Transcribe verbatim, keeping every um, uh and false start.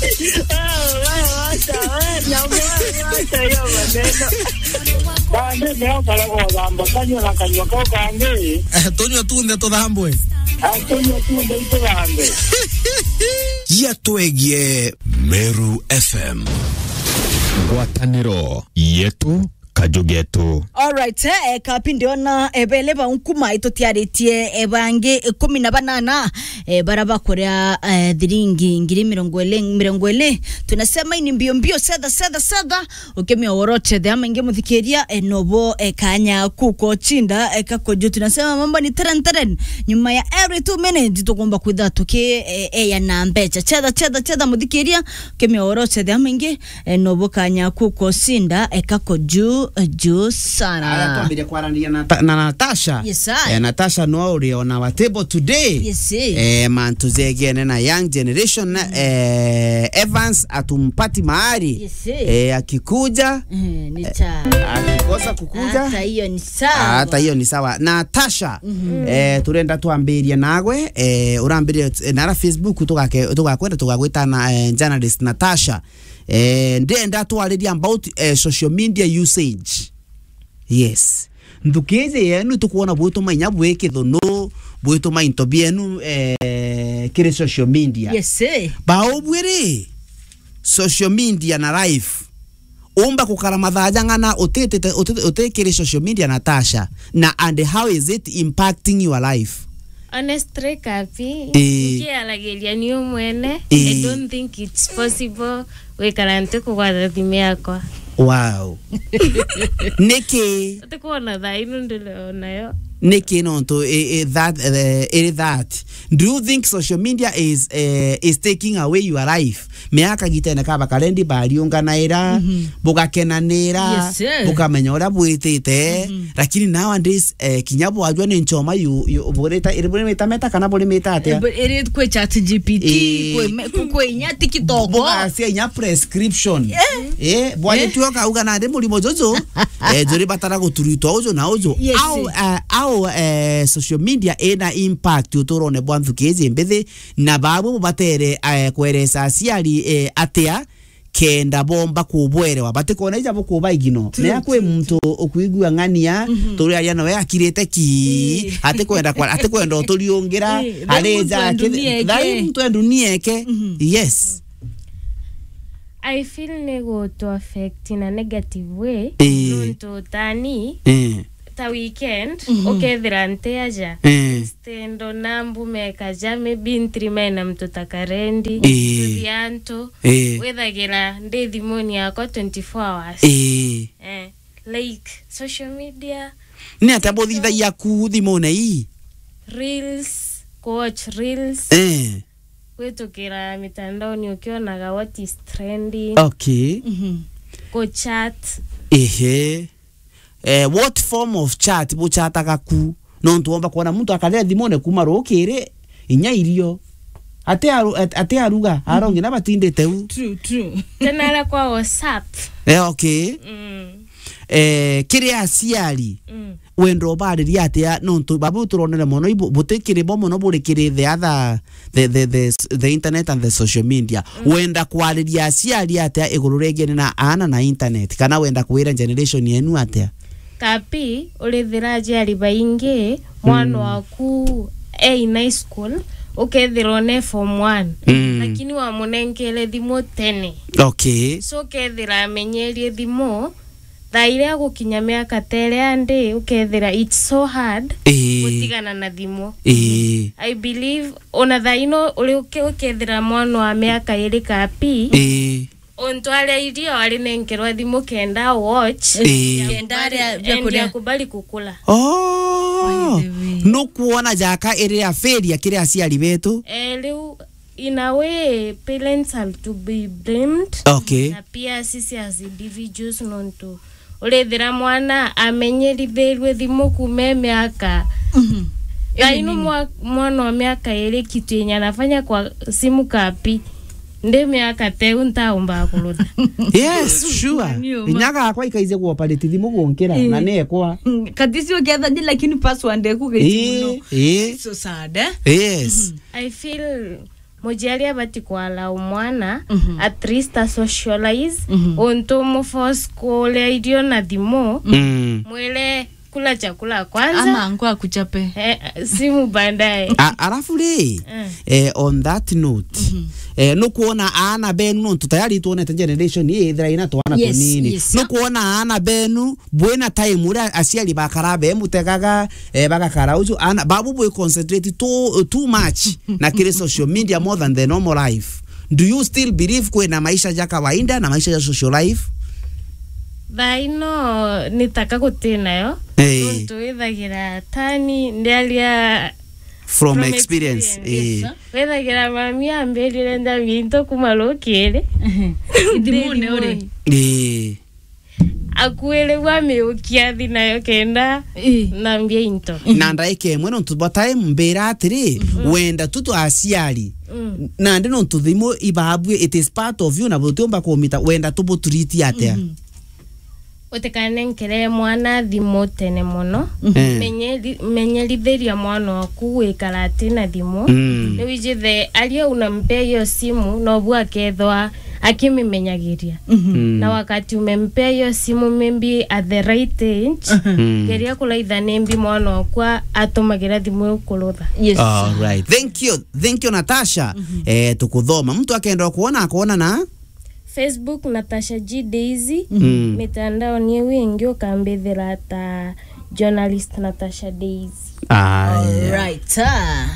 Wewe, wewe, wacha, wewe, na wewe, wacha hiyo maneno. Bande, leo kale kuthamba kanyua na kanyua kau kangi. Eh, tunyua tunthe tuthambwe. Ah, tunyua tunthe ituthambwe. Yatwegie Meru F M. Ngwataniro yetu, kaju getu. Alright, eh, eh, kapi ndiona, eh, bele ba nkuma itutiaritie, eh, bangi ikumi na banana, eh, bara bakuria, eh, thiringi ngiri mirongo ili, mirongo ili. Tunasema ini mbio mbio, setha, setha, setha. Ukimia woroche the ama ingi muthikiria, eh, nobo, eh, kanya kuko chinda, eh, kakojo. Tunasema mambo ni teren, teren. Nyuma ya every two minutes, tukumba kwitha tuki, eh, eh, ya na mbecha. Chetha, chetha, chetha muthikiria, ukimia woroche the ama ingi, eh, nobo kanya kuko chinda, eh, kakoju, eh, ju sana. Aya, twambire kwaraniria na Ta-, na Natasha. Yes, I. Eh, Natasha no uri on our table today. Yes, I. Eh, mantu jegiene na young generation, eh, Evans atumpati mahali. Yes, I. Eh, akikuja, eh, ni cha. Akikosa kukuja, hata hiyo ni sawa. Hata hiyo ni sawa. Natasha, eh, turenda twambirie nagwe, eh, urambirie, eh, nara Facebook tugake-, tugakwenda tugagwita na, eh, journalist Natasha. Eh, ndenda twariria about, eh, social media usage. Yes. Nthukiji yenu tukwona bwituma inya bwi kithunu, bwituma into bienu, eh, kiri social media. Yes, eh. Baubwi ri, social media na life. Umba kukara mathaa jang'ana utitite, uti-, utikiri social media, Natasha? Na, and how is it impacting your life? Honestly, Kapi, eh, nkiaragiria ni umwene, eh, I don't think it's possible gwikara nti kugwata thimu yakwa. Wow. Niki? Ati kwona thaa ino ndiri nayo. Niki nontu i-, i-, that, eh, iri that? Do you think social media is, eh, is taking away your life? Miaka gitene kaba karendi bariunganaira, mhm, bugakenanira, yes, sir, bukamenya uria bwitite, mhm, lakini nowadays, eh, kinya bwajua ni nchoma yu, yu, burita, iri buri mita meta kana buri mita atia? Eh, bu-, iri kwi chat G P T, eh, kwi me-, ku-, kwi inya TikTok. Bugacia inya prescription. Eh. Eh, bwaje, eh, tuoka uga na ndi murimo juju, eh, juri batara guturitwa uju na uju. Yes. Au, eh, au, eh, social media ina impact uturone bwa nthuki iji mbithi, na babu bubatere, eh, kweresa aciari, eh, atia kenda bomba kubwerewa, batikona ija bukuba igino. True, mea kwi, true, muntu true, ukwigua ng'ania, mhm, turi aria nawe akirite ki, ii, atikwenda kwa, atikwenda uturiungira, ii, thai ari muntu ja e ki-, ndunia eke. Thai muntu e ndunia eke. Mhm. Yes. I feel ni gutu affect in a negative way. Ii. Nuntu tani, ii, ta weekend, mhm, ukethira nti aja. Ii. Instead ona mbume kaja, maybe ntiri maina mtu ta karendi, ii, tuthi antu, ii, withagira ndi thimuni yakwa twenty-four hours. Ii. Eh, like, social media. Ni atia buthithagia ku thimune ii? Reels, ku watch reels. Eh. Kwitukira mitandaoni ukionaga what is trending. Okay. Mhm. Ku chat. Ehe. Eh, what form of chat buchataga ku? Nontu womba kwona muntu akaria thimune kuma rukiri inya irio. Ate aru-, at-, ate aruga, mhm, arongi na batindite u. True, true. Tena aria kwa WhatsApp. Eh, okay. Mm. Eh, kiri aciari, mm, wenda ubariria atia? Nontu babu turonere mono ibu-, butikiri bo mono buri kiri the other, the, the, the, the internet and the social media. Mm. Wenda kwariria aciari atia iguru rigiene na aana na internet? Kana wenda kwira generation yenu atia? Kapi, urithira aciari baingi, mwana, mm, waku e in high school, ukethira one form one, mm, lakini wamunenkere thimu tene. Okay. So ukethira amenyerie thimu, thaa iria agukinya miaka ta iria ndi, ukethira it's so hard, ii, gutigana na thimu. Ii. I believe, ona thaa ino uri uke-, ukethira mwana wa miaka iri Kapi, ii, untu aria irio ari nenkerwa thimu kenda watch, ii, kenda aria biakuria, akubali kukula. Oh. By the way. Nukwona jaka iri a failure kiri aciari betu? Eh, riu, in a way, parents have to be blamed. Okay. Na pia sisi as individuals, nontu urithira mwana amenyerithirue thimu kuma e miaka. Mhm. Thaa ino mwa-, mwana wa miaka iri kitu yenye anafanya kwa simu Kapi. Ndi miaka teu ntaumba kurutha. Yes, sure. Ni uma. Inya gakwa ikaije kuoperate thimu gunkira, eh, na nekwa. Mm, katisi ukiathani lakini password eku gaitu muno. Eh, eh. So sad, eh? Yes. Mhm. I feel muciari abati kwala umwana, mhm, at least a socialize, mhm, untu mu force kuria irio na thimu, mm, mwire kula chakula kwanza. Ama angu akuchape. Eh, simu baadaye. A-, alafu ri, mm, eh, on that note, mhm, eh, nukwona aana benu, nontu tayari twonete generation ii ithira ina twana, yes, tunini, yes, nukwona aana benu bwina time uria aciari bakara bemutegaga, eh, bagakara ucio, ana babu bwi concentrate too, too much na kiri social media more than the normal life. Do you still believe kwina maisha ja kawaida na maisha ja social life? Thaa ino ni taka guti nayo. Eh. Nontu withagira tani ndiaria from, from experience, experience, eh, withagira mami ambirire ndamia into kuma rukiri. Ithimuni uri? Eh. Akuire gwa miukia thi nayo kenda, ii, nambia into. Na ndaika imwe, nontu bwa time, mbira atiri, mhm, wenda tu twa aciari, mm, nandi nontu thimu ibabue, it is part of you, na butiumba kumita, wenda tu butreat atia? Mhm. Utikanenkere mwana thimu tene mono. Mhm. Eh. Menyeri-, menyerithiria mwana waku gwikara ati na thimu. Mm. Niwijithe aria unampea hiyo simu, nobu akethwa akimimenyagiria. Mhm. Mm. Na wakati umempea hiyo simu, maybe at the right age, mhm, mm, geria kuraitha nimbi mwana wakwa atumagira thimu iu kurutha. Yes. All right. Thank you. Thank you, Natasha. Mhm. Eh, tukuthoma. Mtu akenda kuona, akuona na? Facebook, Natasha G Daisy. Mm. Mitandao ni iu ingi ukambithira ta journalist Natasha Daisy. Aya. All right. Ah.